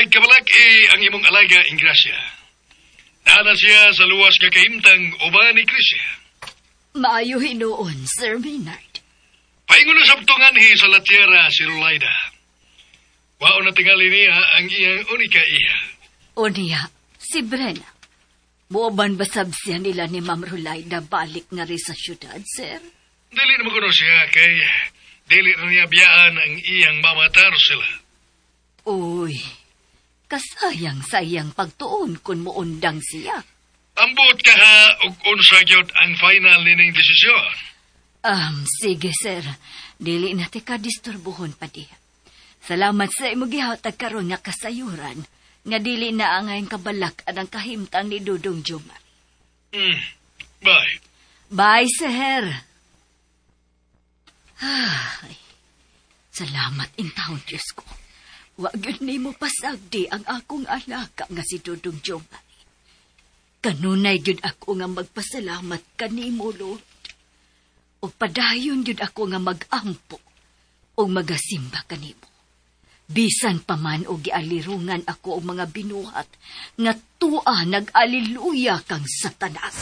Walay kabalak-i ang imong alaga, Ingrasya. Naa na siya sa luwas nga kahimtang uban ni Crisia. Maayo hinuon, Sir Maynard. Paingon na sabto nganhi sa La Tierra si Rolaida. Wao na tingali niya ang iyang unika iha. O niya, si Brenna. Muoban ba sab siya nila ni Ma'am Rolaida balik nga rin sa syudad, sir? Dili na kuno siya kay dili na niya biyaan ang iyang mama Tarsila. Uy, kasayang sa iyang pagtuon kung muundang siya. Ambot ka ha og unsa gyud ang final nining desisyon. Sige, sir. Dili na tika disturbuhon pa diha. Salamat sa imo gihatag karon nga kasayuran nga dili na angay kabalak ang kahimtang ni Dudong Jomar. Bye. Bye, sir. Ay, salamat intawon, Diyos ko. Wa gyud nimo pasagdi ang akong alaka nga si Dudong Jomar. Kanunay gyud ako nga magpasalamat kanimo, Lord. O padayon gyud ako nga mag-ampo o magasimba kanimo. Bisan pa man og gialirungan ako og mga binuhat nga tua nag-aliluya kang Satanas.